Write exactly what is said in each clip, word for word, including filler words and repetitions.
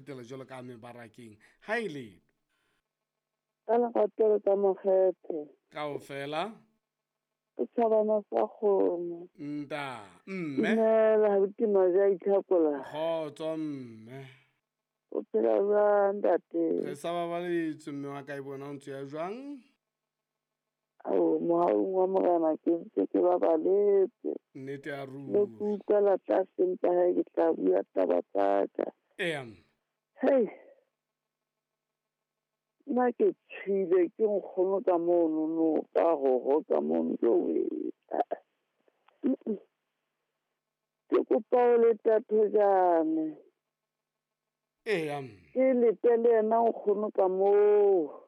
tsetela jwalo ka mebarakeng. Ha e le Ka lerato le ka makgethe. Kaofela. Setjhabana sa kgomo. Nta, mme. Dumela, abuti Maja Itlhakola. Kgotso mme. O phela jwang ntate? Re sa babaletswe mme wa ka e bona o ntse ya jwang? Ao, mohaung wa Morena ke ntse ke babaletse. Nnete ya ruri. Le ke utlwela tlase empa hae ke tla bua taba tsa ka. Eya. Hei. Nna ke tshwile ke nkgono ka mono no ka roho ka mono jowe. Ke kopa o leta thojane. Eya. Ke lete le yena nkgono ka moo.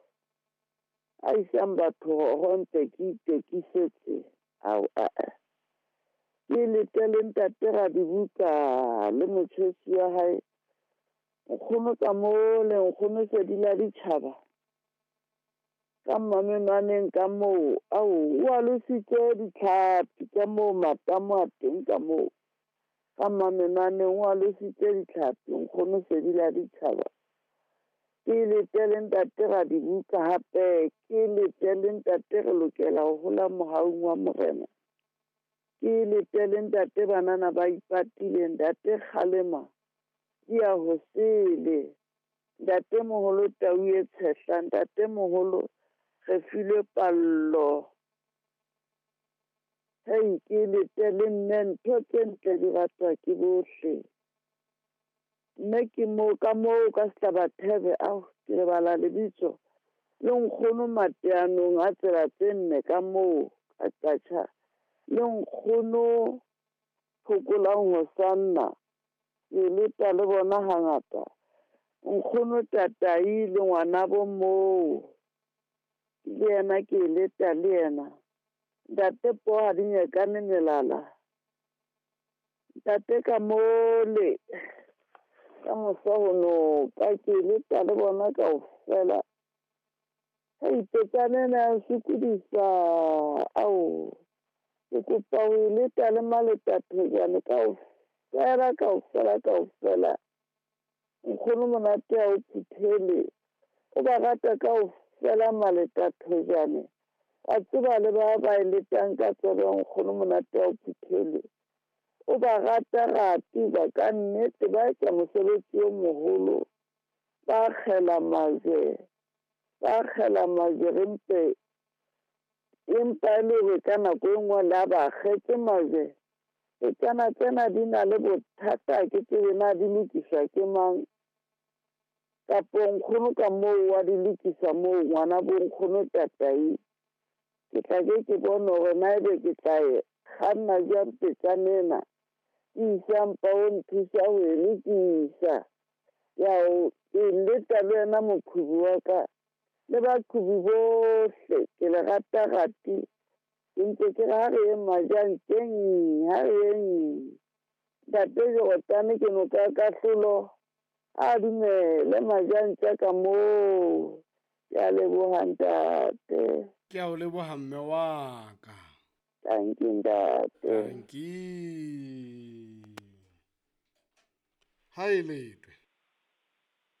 A isang batho ho ntse ke itekisetse. Ao a a. Ke lete le ntate Radibuka le motjhesi wa hae. Nkgono ka moo le nkgono Sedila ditjhaba. Ka mmamenwaneng ka moo, ao, o alositse ditlhapi ka moo matamo a teng ka moo. Ka mmamenwaneng o alositse ditlhapi, nkgono Sedila ditjhaba. Ke lete le ntate Radibuka hape, ke lete le ntate re lokela ho hola mohaung wa Morena. Ke lete le ntate banana ba ipatile, ntate Kgalema di ya ho sele. Ntate moholo Tau e tshehla, ntate moholo re filwe pallo. Hei, ke lete le mme ntho tse ntle di ratwa ke bohle. Mme ke moo ka moo ka Sehlabathebe, ao ke lebala lebitso. Le nkgono mateanong a tsela tse nne ka moo ka Qacha. Le nkgono Phokolang Hosanna. Ke leta le bona hangata. Nkgono Tatai le ngwanabo moo. Le yena ke leta le yena. Ntate Poha di nyekane melala. Ntate ka mole. Ka mosa ho noka ke leta le bona kaofela. Hei, petsane ena ya nsokodisa. Ao, ke kopa ho e leta le maleta thojane kaofela, kaofela, kaofela. Nkgono monate ha o phuthele. O ba rata kaofela maleta thojane. Wa tseba le ba ba e letang ka tsebe nkgono monate ha o phuthele. O ba rata rati ba ka nnete ba etsa mosebetsi o moholo. Ba kgela majwe. Ba kgela majwe re mpe. Empa e le hore ka nako e nngwe le ha ba kgetse majwe. Petsana tsena di na le bothata ke tsebe na di lokiswa ke mang. Kapo nkgono ka moo wa di lokisa moo ngwana bo nkgono Tatai. Ke tla ke ke bone hore na ebe ke tla e kganna jwang petsana ena. Ke isa mpa o nthusa ho e lokisa. Ya o ke leta le wena moqhubi wa ka. Le baqhubi bohle ke le rata rati. Ke ntse ke re ha re yeng Majanteng, ha re yeng. Ntate Jorotane ke noka ya kahlolo. A dumele Majantja ka moo. Ke a leboha ntate. Ke a o leboha mme wa ka. Thank you ntate. Thank you. Ha e letwe.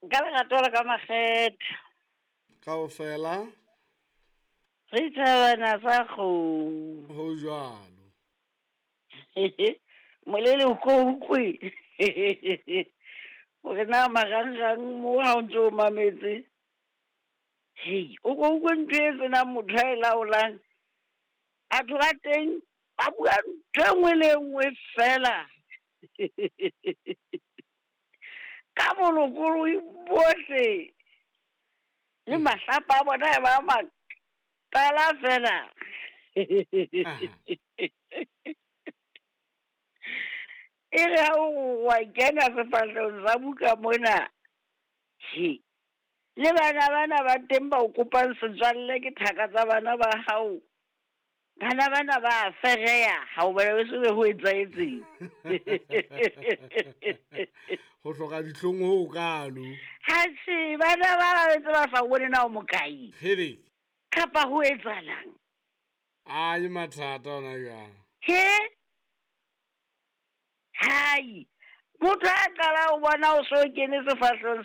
Ka lerato la ka makgethe. Kaofela. Re thabana sa kgomo. Ho jwalo. Molele o ko utlwe. Hore na marangrang mo ha o ntso o mametse. Hei, o ko utlwe ntho e senang motho a e laolang. Batho ba teng ba bua ntho e nngwe le e nngwe fela. Ka bolokolohi bohle. Le mahlapa a bona e ba matala fela. E re ha o wa kena sefahlehong sa buka mona. He. Le bana bana ba teng ba o kopang setswalle ke thaka tsa bana ba hao. Bana bana ba fereya ha o bona se be ho etsahetseng. Ho hloka dihlong ho kalo. Ha se bana ba ba ntse ba sa bone na o mokae. Hele. Kapa ho etsahalang? A ke mathata ona jwang. He? Hai. Motho a qala o bona o so kene sefahlehong